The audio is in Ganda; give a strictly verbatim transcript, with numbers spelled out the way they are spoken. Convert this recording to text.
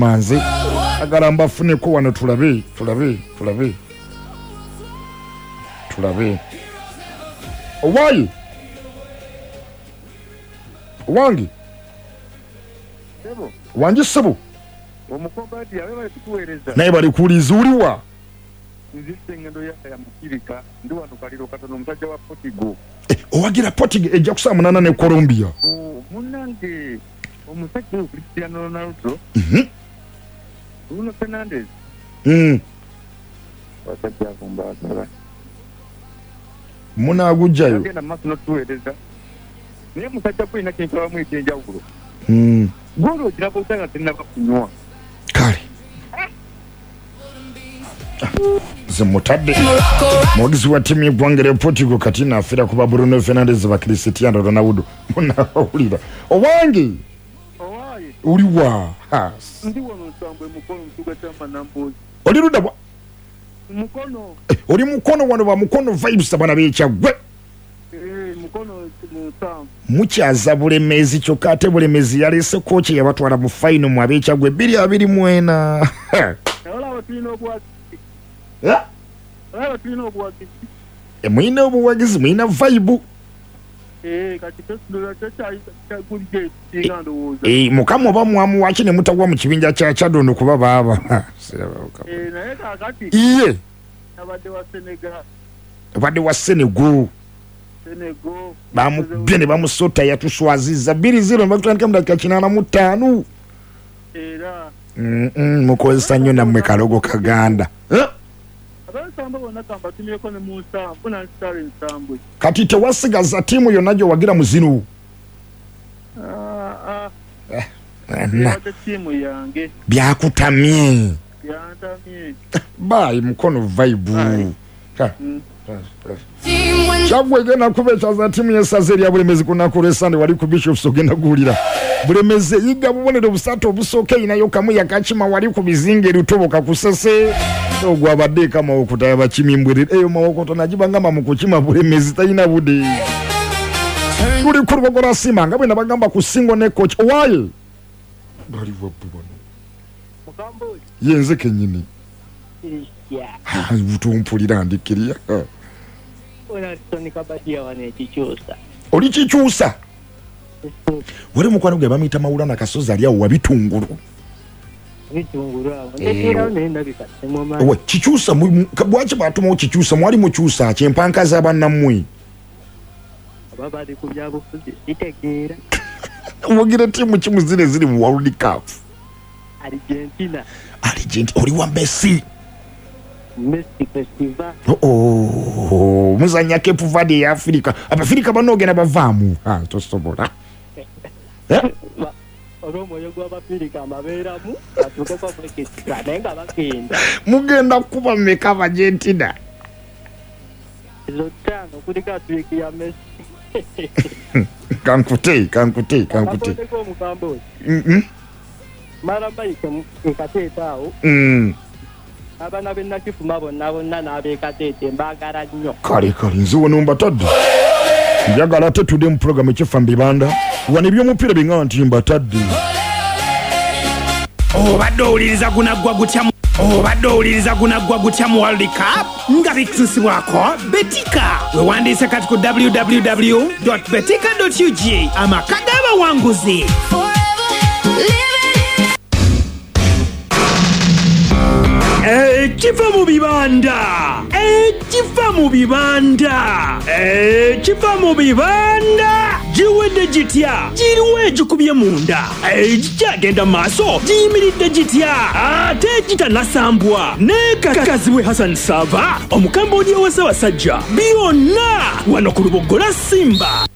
Manze agala mbafuneko wano, tulabe tulabe tulabe tulabe. Owayi wange wange ssebo, naye bali kuwuliza. Uliwa owagira Portugal ejja kusaba munaana ne Colombia. Munange omusajja oyo Cristiano Ronaldo, Bruno Fernandes, basajja abo mbaagala. Munaagujjayo agenda maaso n'otuweereza, naye musajja gwolina kyenkulabamu ekyenjawulo, goolo ogiraba otya nga tennaba kunywa. Kale nze mutadde muwagizi wa ttiimu y'eggwanga lya Portugal kati naafiira kuba Bruno Fernandes ba Cristiano Ronaldo. Munaawulira. Owange uliwa? Ndi wano Nsambwe, Mukono, mu kibuga ky'Amanambozi. Oli ludda wa? Mukono. Oli Mukono wano, ba Mukono vibes, abaana b'Ekyaggwe. Mukono mu Nsambwe. Mukyaza Bulemezi, kyokka ate Bulemezi yaleese kooki yabatwala mu final mu ab'Ekyaggwe bbiri abiri mu ena. Olaba tulina obuwagizi. Olaba tulina obuwagizi. Mulina obuwagizi, mulina vibe. Kati kyekyagulira ndowooza. Mukama oba mwamuwaki ne mutagwa mu kibinja kya Kyadondo kuba baaba. Naye kaakati iye abadde wa Senegal. Abadde wa Senegal. Senegal. Bamukubye ne bamusota, yatuswaziza bbiri zero ne bakutandika mu dakika kinaana mu ttaano. Era mukozesa nnyo nammwe kalogo kaganda. Ab'Ensambwe bonna kambatumyeko ne mu Nsambwe nansitala Ensambwe. Kati tewasigaza ttiimu yonna gy'owagira mu zino? Ttiimu yange. Byakutamye. Byantamye. Bye Mukono vibe. Kyaggwe egenda kuba ekyaza ttiimu y'essaza erya Bulemezi ku lunaku lw'Essande wali ku Bishops. Ogenda kuwulira Bulemezi eyiga bubonero busatu obusooka, erinayo kamu yakakima wali ku bizinga erutoboka ku Ssese. Ogwo abadde eka Mawokota yabakimi mbwerere eyo Mawokota nagibangamba mu kukima Bulemezi talina budde. Tuli ku Lubogo lwa Simba nga bwe nabagamba ku singo ne coach. Owaaye bali wabbu bano ye nze kennyini butumpulira ndikkirya. Oli kikyusa wali mukwano gwe bamuyita Mawulana Kasozi ali awo wabitungulu. Owe kikyusa, bwaki bwatumawo kikyusa? Mwali mukyusa kyempanka z'abannammwe owagira ttiimu kimu zino eziri mu World Cup? Argentina. Argentina, oli wa Messi. Messi festival. Oh, muzanya Cape Verde ya Afrika. Abafrika banoogenda bavaamu. Tosobola. Olw'omwoyo gw'Abafirika mbabeeramu batuukeko kwekisika naye nga bagenda. Mugenda kuba mmeka Abargentina? Ezo ttaano kuliko atwiki ya Messi. Kankute, kankute, kankute. Akakondeko omukambo. Mara mbayike ekateeta awo. Abaana b'e Nakifuma bonna bonna n'ab'ekateete mbaagala nnyo. Kale kale nze wano mbatadde. Njagala ate tudde mu pulogulaamu ekifa mu bibanda. Wano eby'omupiira biŋŋamba nti mbatadde. Obadde owuliriza gunaggwa gutya obadde owuliriza gunaggwa gutya mu World Cup nga bituusibwako Betika. Wewandiise kati ku w w w betika ug, amaka g'abawanguzi. Ekifa mu bibanda, ekifa mu bibanda, ekifa mu bibanda giwedde gitya? Giriwo egikubye munda, egikyagenda maaso giyimiridde gitya? Ate gitanasambwa ne Kakazibwe Hassan Sava, Omukambodiya wa Ssaabasajja, byonna wano ku Luboggola Simba.